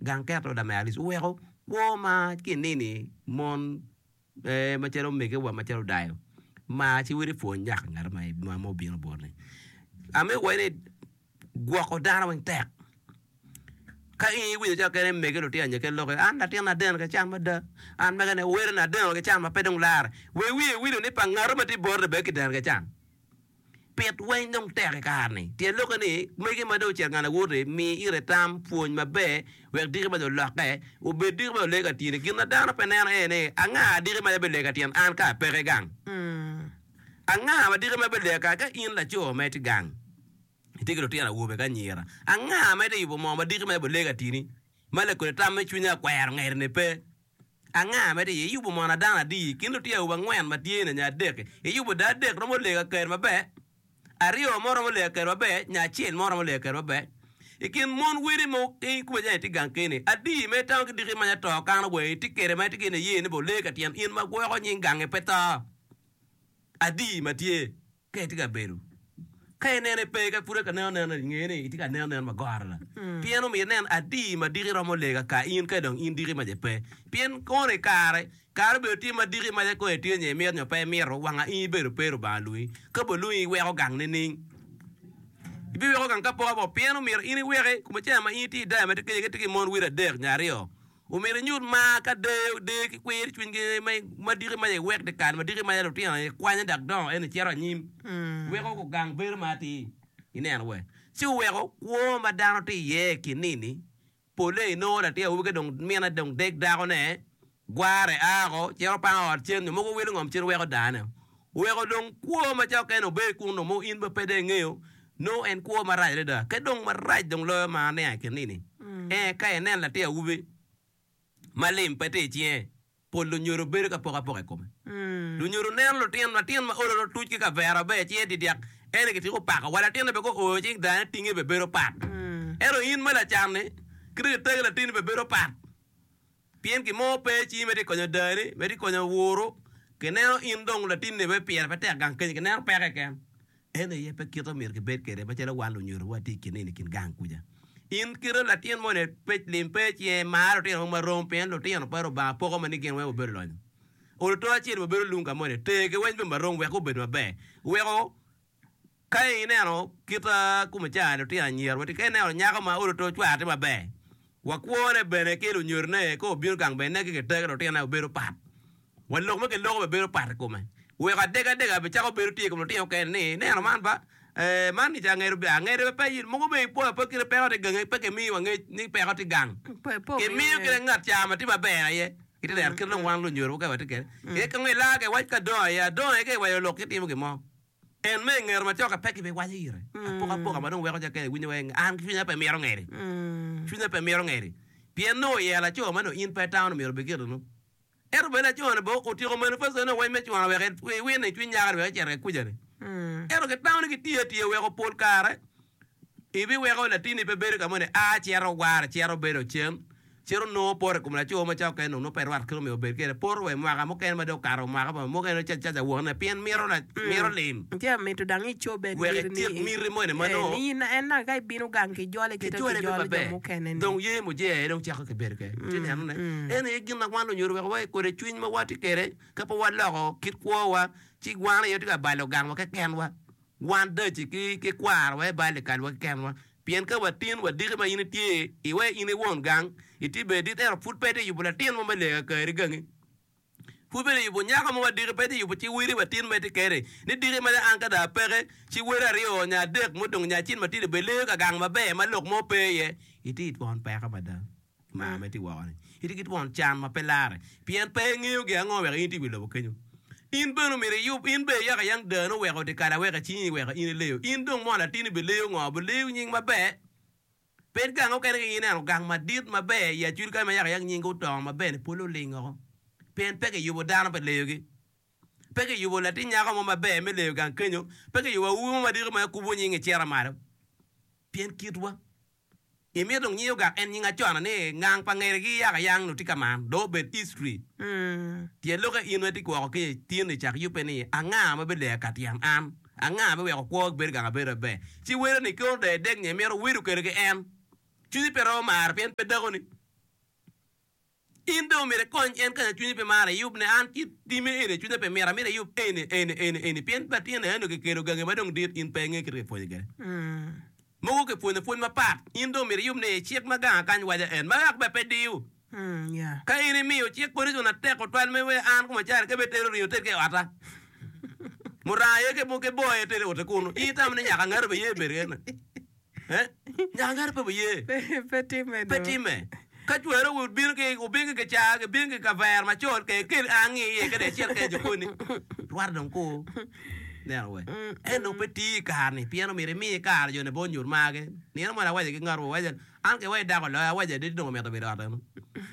Gang keto lamera Alice oweko kwo ma ki nini mon macalo omege wa macalo dayo mar ci weri pwony nyaka ngat ma obino boti. Amito waci ni gwoko dano weng tek. Ka in iwinyo calo kene mege lutino nyo kene loki an latin adeno ki can mada an mege ne wele na adeno ki can ma pe dong lare wek wiye wilo ni pa ngato ma tye boti bene kideno ki can. Pit weng dong tek i kare-ni. Tyen lokke ni, mege ma dong ocito ngat awote, mi ite tam, pwony maber, wek diki maca olokke, obed diki maca ole ka tyeni. Gin ma dano pe neno aye ni, anga diki maca bilega tyen an ka apeke gang? Anga ma diki maca bilega ka ka in laco ma itye gang, itye ki lutino awobe ki anyira? Anga ma itye yubo moo ma diki maca bilega tyeni, ma lakodi tam me cwinya akwero ngeri-ni pe? Anga ma itye iye? Iyubo mono dano adi? I kin lutino awobe angwen ma tye-ni nyo adek-ki, iyubo dano adek romo lego aker maber, aryo mo romo lego aker maber, nyo acel mo romo lego aker maber. I kin mon wadi ma kome jami tye gang keni, adi ma itamo ki diki maca to kano wa itye kwede ma itye ki niye ni bene olego ka tyen in ma gwoko nying gangi pe to? Adi ma tye? Ka itye ka bedo, ka inene pe, ka pud ka neno neno inge ni itye ka neno neno magoro la. Pien omyero inen adi ma diki romo lega ka in ka dong in diki maca pe. Pien kono i kare, kare obedo tye ma diki maca kono itye nyo imito nyo pe imito, wanga in ibedo pe Lubanga lwongi. Ka bene olwongi iweko gang nining? Ibiweko gang ka pok apoka? Pien omyero in iweki, kome ca ma in itye i daya ma tye kenyo ka itye ki mon wiro adek nyo aryo, Omyero inyut mar ka deyo deyo ki kwir cwinygi ma diki maca iwek dyekal ma diki maca lutino ikwanyo dok dongo ento icito anyim weko gugang bedo ma atir ineno we ci oweko kwo ma dano tye iye i kin nini pole inongo latin awobi ka dong mine dong deg dako ne gware a oko cito pango ot cen nyo mogo wilo ngom cen weko dane oweko dong kwo ma ca okene obedo kun dong mogo in pe dong ingeyo nongo en kwo marac adada ka dong marac dong loyo ma aniang i kin nini ee ka inen latin awobi ma lim pe tye i cinge pol lunyodo bedo ka poko apoka i kome lunyodo neno lutino latin ma olo otuc ki kavera maber cinge didyak ene kitiko pako wa latinne bene ka ooyo cing dane tinge bene bedo pat ento in ma lacan-ni kite kitagi latinni bene bedo pat. Pien gin mo pe i cingi ma itye ka konyo dani, ma itye ka konyo wuru, kineno in dong latinni bene pire pe tek gang kenyo, kineno peko keken. En aye pe kite myero kibed kwede macalo wan lunyodo watye i kin-ni i kin gang kuca. In kite latin moni pe lim pe i cinge, mar lutino mogo marom pien lutino pa Lubanga poko ma ni gin weng wabedo lonyo. Olo to acel wabedo lung ka moni, tergi weng bene marom wek gubed maber. Weko Ka ineno kit kome ca lutino anyira watye ka ineno nyako ma olo to cware tye maber wa kwone bene ki lunyodone ka obino gang bene ki kitege lutine obedo pat wa lok ma kiloko bene bedo pat i kome weko adegadega bene cako bedo tye i kom lutino mukene ni ineno man ba ee man ni ca angede angede pe in mogo bene ipwoyo pe kite peko tye gangi pe kimiyo wa ngec ni peko tye gang kimiyo kite ngat ca ma tye maber aye ite neno kit dong wan lunyodo wa ka watye kwede kong ilaa ka iwac ka adongo aye adongo aye ka iwaco lok kitimo gin mo. En me i ngete macok-ki pe kibiwaco ire. Apokapoka ma dong weko ca kene iwinyo wai an cwinya pe mito ngeri. Cwinya pe mito ngeri. Pien nongo oyero laco ma nongo in pe itamo ni myero obed gire nongo. Ento bene laco-ni bene otyeko manifesto ne weng me cwano wek ewine i cwiny nyako-ni wek ecit kuca-ni. Ento kitamo ni gitiyo atiya weko pol kare ibiweko latinni pe bedo ka moni a cito ware cito bedo cen. Cito nongo poto i kom laco ma cawa okene nongo pe rwat kit ma myero obed kwede. Poto wa i mwaka mukene ma dong okato mwaka mukene nongo caca wokone pien mito mito lim. Tye mito dang icobbe Wek ityek miti moni ma nongo ni in en naka ka ibino gang kijole kite kijole kijolo jo maber. mukene ni. Dong ye mujee aye dong cako ki bedo kwede. Itye neno ne? En aye gin ma wan lunyodo wek wa kode cwiny ma watye kwede ka pe waloko kit kwowa ci wan aye watye ka balo gangwa kekenwa. Wan daci ki ki kwaro wa i bal i kalwa kekenwa. Pien ka watin wadiki ma in itye iwe in i won gang, itye bene dit ento pud pe itye yubo latin mo me lega kari gangi. Pud pe itye yubo nyako mo wadiki, pe itye yubo ci weri watin ma itye kede ni diki ma an ka dong apeke ci weri aryo nyo adek mudong nyo acel matidi bene leyo ka gang maber ma lok mo pe iye. Itye i twon peko mada. Mar ma itye woko-ni, itye ki twon can ma pe larre, pien pe ingeyo gin ango weko in itye i wi lobo kenyo. In bene omyero iyub, in bene iyako ayang dano oweko dyekal aweka cingi weko in ileyo. In dong mo latinni bileyo ngo? Bileyo nying maber? Ped gang okene ka in ineno gang madit maber i Acholi kany ma yako ayang nyingi otongo maber-ni pole oling woko, pien pe kiyubo dano pe leyogi. Pe kiyubo latin nyako mo maber me leyo gang kenyo, pe kiyubo awobi mo madito ma kubo nyinge cito malo, pien kitwa. Imito dong nying ogak en nying acona ni ngang pa ngerigi yaka yang nongo tye ka man dong obed history. Tyen lokke in ma itye kwoko ki tin ni cak yubbe ni anga ma bileyo ka tyen an? Anga biweko kwo bedo gang abedo maber? Ci welo ni kono dong idek nyo imito wedo kwede ki en. Cwinyi pe romo maro pien pe dakoni. In dong omyero ikony en kanya cwinyi pe maro iyub ne an kit time eni cwinya pe mito amito iyub eni eni eni eni pien latin eno kikelo gangi ma dong dit in pe inge kit kipwonye kwede. Mogo kipwonyo pwony mapat in dong omyero iyub ni cik ma ganga kany waco en ma wek bene pe diyo. Ka in imiyo cik condition atek tutwal me wek an koma caro ka ibitero ringo iter ki i otta muranga aye ki boo aye iter i otti kunu in itamo ni nyaka ngati obiye bedo ene. Nyaka ngati pe obiye. Pe timme Pe do. timme. Ka cwero obino ki obino ki kicaa gibino ki kavera macol ke kel angi iye kede icit kede jokoni. Rwate dong ku neno we. En dong pe tiyo i kare-ni pien omyero imi kare joni pe onyut margi. Nino moni awaco ki ngat mo awaco ni an ke wai dako oloya awaco adit dong omito bedo i ot eno.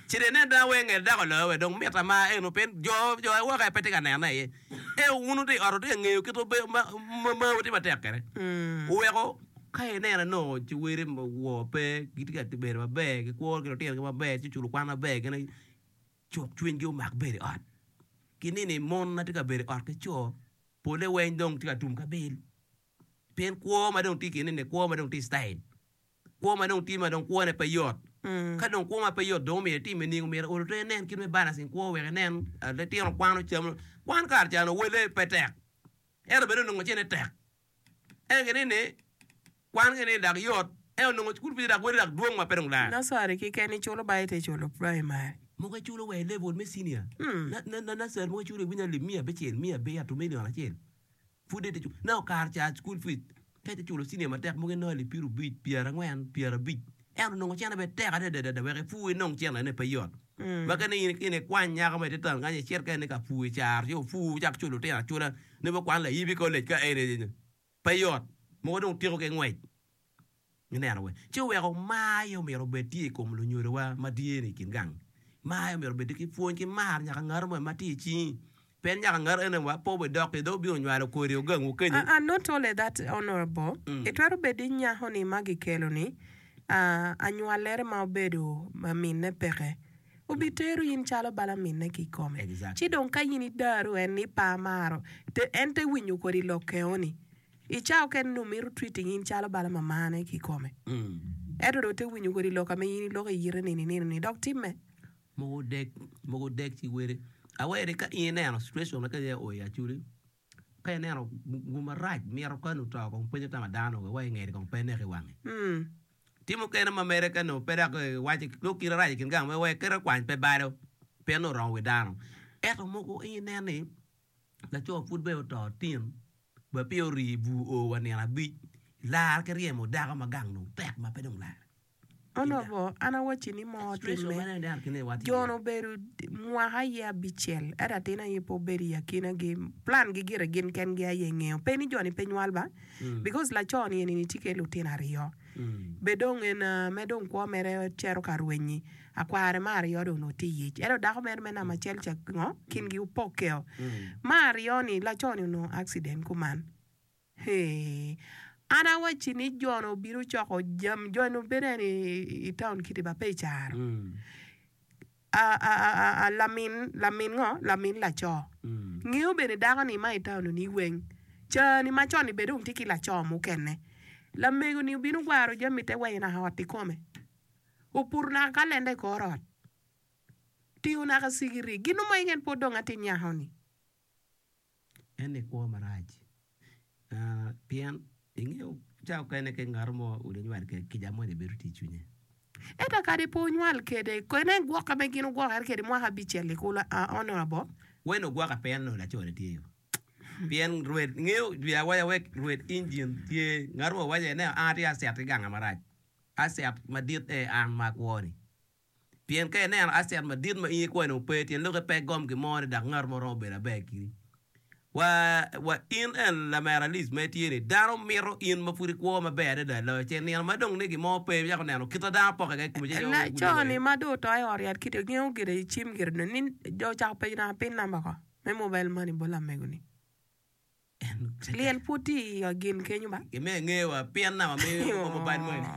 Ci dong inen dong awe nget dako oloya we dong mita mar eno pien jo jo awoke pe tye ka nene iye. Ento wun wutye i ot wutye ka ngeyo kit ma marwu tye matek kwede. Oweko ka ineno nongo ci wele wor pe gitye ka bedo maber gikwo ki lutinogi maber ci culo kwan maber gin cuk cwinygi omak bedo i ot. Ki nini mon ma tye ka bedo i ot ki co pole weng dong tye ka tum ki abil pien kwo ma dong tye i kine-ni kwo ma dong tye i citayil. Kwo ma dong tye ma dong kwone pe yot. Ka dong kwo ma pe yot dong omyero itim nining? Omyero olo to inen kit me balancing kwo wek inen litino kwano cam. Kwan kare ca onongo wele pe tek ento bene onongo cene tek. Ento kine ni kwan kene dok yot ento onongo cukul pire dok wele dok dwong ma pe dong lar. Nursery keken iculo ba ite culo primary. Mogo iculo wa i level me senior. Nursery mogo iculo iwinyo alip miya abicel, miya abiro, million acel. Pud ite culo. Nongo kare ca cukul fees ka ite culo cinia matek mogo inongo alip pyerabic, pyerangwen, pyerabic. Ento nongo cente bene tek adada wek ipur inong centene pe yot. Ma ka ni in ikwany nyako mo ite town kany icit kene ka pur i caro ci opur wucak culo lutino acula ni gukwan layibi i college ka eni pe yot. Mogo dong tiko ki ngwec. Ineno we? Ci oweko mar aye omyero obed tye i kom lunyodowa ma tye-ni i kin gang. Mar aye omyero obed ki pwony ki mar nyaka ngat mo ma tye i cingi. Pien nyaka ngat ene wa pe obidok ki dong obino nywalo kodi ogangwu kenyo. And not only that honourable, itwero bedo inyako ni ma gikelo ni anywalere ma obedo minne peke obitero in calo bala minne kikome. Ci dong ka in idaro en ni pe amaro en te winyo kodi lok eo ni. I cawa okene nongo mito treating in calo bala mamane kikome. Ento dong te winyo kodi lok ame in iloko i yite nino nino ni dok timme. Mogo dek, mogo dek ci wele. Aweri ka in ineno situation ma kadi o i Acholi, ka ineno gum marac mito ka nongo to kong penyo tama dano wa i ngete kong pe neko i wange. Tye mukene ma mere ka nongo pe dok iwaco nongo kite rac i kin gang wek kite kwany pe balo pien nongo oromo wi dano. Ento mogo in inen ni Laco pud bene oto tin wa peya ori i bur o wa nino abic lar ki ryemo dako ma gang dong tek ma pe dong lar. Onongo an awacci ni mo otimme, jo-nu obedo mwaka aye abicel, ento atin aye pe obedo i akinagi, plan gi gire gin kengi aye ngeyo, pe ni jo-ni pe nywal ba, because laco-ni eni-ni tye ki lutino aryo, bed dong en me dong kwo mere cito ka rwenyi, Akware me aryo dong onongo tye i ic, ento dako mere me namba acel ca ngo kingi opokkeo. Me aryo-ni, laco-ni onongo accident kuman. Hee, an awacci ni jo-nu obino coko jami, jo-nu bedo en i town kiti ba pe i caro. Lamin, lamin ngo, lamin laco. Ngeyo bene dako-ni ma i town-ni weng. Cani macon-ni bene dong tye ki laco mukene. Lamego-ni obino gwaro jami te weng naka ot kikome. Oputo naka kalenda i kor ot, tingo naka cigiri, gin mo keken pe odong atir nyako-ni. En ni kwo marac pien ingeyo ca okene ki ngat mo odi nywal kwede kica moni bedo tye i cwinye. Ento kadi pe onywal kwede, kene gwokke ma gin ogwokere kwede mwaka abicel-li kulu Honourable. Wen ogwoke pe en onongo laco-ni tye yo. Pien rwed ngeyo jwi awaca wek rwed injin tye ngat mo owaco ni an atye acet ki ganga marac. Asset madit aye an ma akwo-ni. Pien ka ineno asset madit ma in ikwo-ni ope, tyen lokke pe gom gin mo ni dok ngat mo romo bedo aber kidi. Wa, wa in en lamera Liz ma itye-ni, dano mito in ma pud ikwo maber adada loyo ce nino ma dong ni gin mo pe, icako neno kit ma dano pokke kwede i komi ci Laco-ni ma dong oto i ot yat kiti ngeyo gire i cim gire ni jo ocako penyo naka pin namba ko me mobile money bot lamego-ni. Lyel pud tye i gin kenyo ba. Gimiyo inge wa pien namba me mobile money.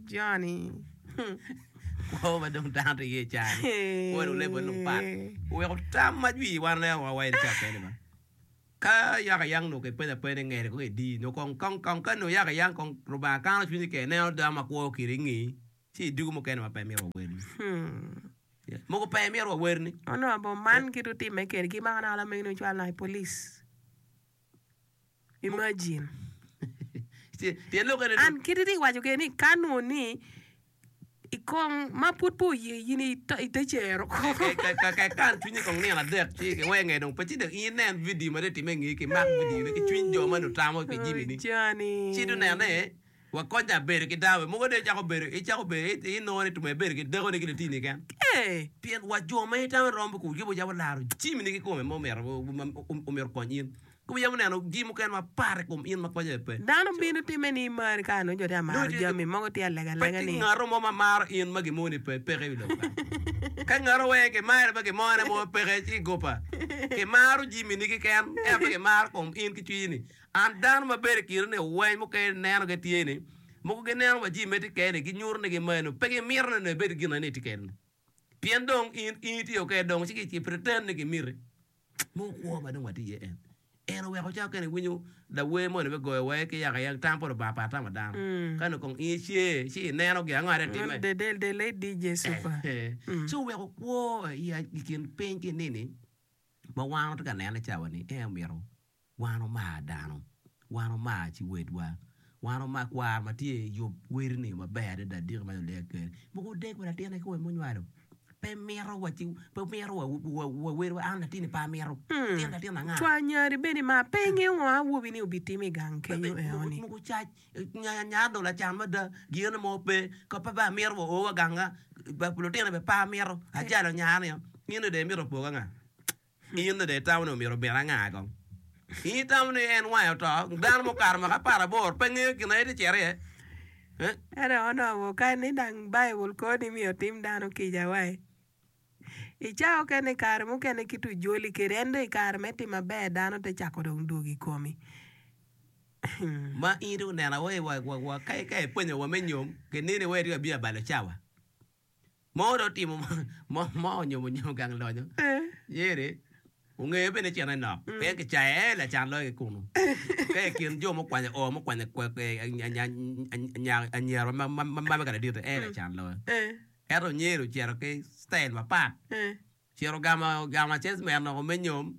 Johnny. Kwo ma dong dano tye iye i caa-ni. Kwo dong level dong pat. Oweko tam ma jwi wan waneno wa i caa kene ba. Ka yaka yang nongo kipenyo apenya ni ngeri kong edi nyo kong kong kong ka nongo yaka yang kong Rubanga kano cwinyi kene ineno dano ma kwo kede ingeyi ci idwogo mukene ma pe imito wa welo. Mogo pe imito wa werni. Onongo man kit otimme kwede gimako naka lamegine ocwalo naka i police. Imagine. Tyen lok eni And kit itye waco kwede ni ka nongo ni i kong ma pud pe oye in ite cero kong. Ka ikan cwinyi kong nino adek ci kiwee nge dong pe ci dong in inen vidio ma dong itimme ingeyi kimak vidio ni ki cwiny jo ma nongo tamo pi jami ni. Ci dong nene Wakonya bedo ki dako mogo dong icako bedo icako bedo inongo ni tume ibedo ki dakoni ki litini keken. Pien wa jo ma itamo ni romo kodi gibo yabo laro jimini kikome ma omyero omyero okony in. Gibo yabo neno jami mukene mapat i kom in ma konye pe. Dano bino timme ni imari ka nongo jo tye ka maro jami mogo tye alega Pe alega tye ni. ngato mo ma maro in ma gimoni pe peke i wi lobo kany. Ka ngato weng kimare ma gimone mo peke ci gopa. Kimaro jimini keken ento pe kimaro kom in ki cwinyi ni. An dano ma bedo i kine ni weny mukene neno gi tye ni, mogo gineno wa jami ma itye kene ni ginyuto ni gimeno pe gimito ni onongo ibed ki gin ma itye kene ni. Pien dong in in itye okay dong ci gi pretend ni gimiti. Mogo kwo ma dong watye iye en. En oweko cawa kene iwinyo lawer moni me goyo wa ki yaka yang tam pa Lubanga pat tamo dano. Ka nongo kong in ice ci ineno gin ango aye timme. The the the late DJ Super. Ci oweko kwo i kin piny ki nini ma wan watye ka nene cawa ni en omito Wan omar dano. Wan omar ci wedwa. Wan omar kwar ma tye i yub weri-ni maber adada diki ma olega kwede. Mogo odek wa latinne kikome munywalo. Pe mito wa ci pe mito wa wa wedwa an latinni pe amito. Latin latin anga? Cwa nyari bene ima pe ingeyo ngo awobi-ni obitimo i gang kenyo eno-ni. Mogo cac nya dong lacan mada gine mo pe ka pe amito wa o wa ganga lutino bene pe amito ajalo nyara-ni in dong imito opoga nga? In dong itamo ni omyero obed anga kong? In itamo ni en wange oto? Dano mukato mwaka aparaboro pe ngeyo gin ma en tye cito iye? Eh? Ento onongo ka ni dang Baibul kor ni myero otim dano kica wai. I cawa okene i kare mukene kit ojoli kwede en dong i kare me timo maber dano te cako dong dwogo i komi. Ma in dong oneno wai wa wa ka ipenyo wa me nyom kineni wai itye ka bino abalo cawa. Mo dong otimo mo onyomo nyo gang lonyo yeri ongeyo bene cene nok pien kicaye ee lacan loyo ki kunu ka i kin jo mukwanyo o mukwanyo anyira ma mege ladite ee lacan loyo ento nyeri ocito ki citayil mapat ocito ogamo acecment woko me nyom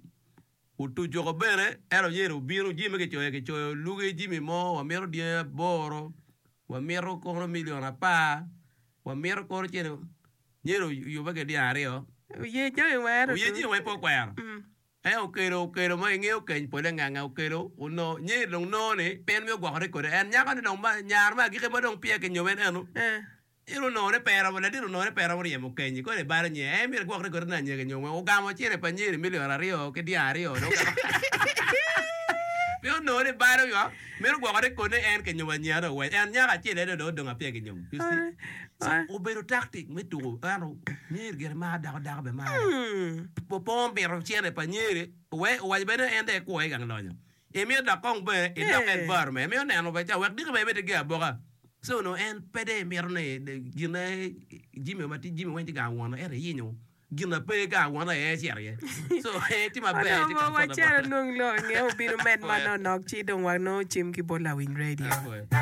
Otuco woko bene, ento myero obino, jami ma kicoyo kicoyo lugi jami mo, wamito dyangi aboro, wamito kono milion apar, wamito kono cene, myero oyubbe ki dyang aryo. Oye jami weng ento Oye jami weng pe okwero. En okelo okelo ma ingeyo keny pole nganga okelo onongo nyeri dong nongo ni pe en mito gwokore kwede en nyako ni dong nyaro me agikki ma dong peya kinyome en eno. En onongo ni pe romo, ladit onongo ni pe romo ryemo kenyi, koni ebalo nyer, en myero egwokre kwede ni anyira nyo weng ogamo cene pa nyeri milion aryo ki dyang aryo dong ogamo pe onongo ni balo yo mito gwokore kodi ni en kinyomo anyira dong owec en nyako acel aye dong odong apeya kinyomo you see so obedo tactic me tuko ento nyeri gire maro dako dako bene maro pe omito cene pa nyeri owaco bene ni en dong ekwo i gang lonyo Imito dok kong bene idok environment imito neno bene ca wek diki bene ibed ki gin aboka so onongo en pe dong imito ni gine jami ma tye jami weng tye gang won ento iyinyo gin ma pe gang won aye ecito iye so en tye maber tye Onongo comfortable. wacito nong lok nge obino med manonok ci dong wanongo cim ki bot lawiny radio.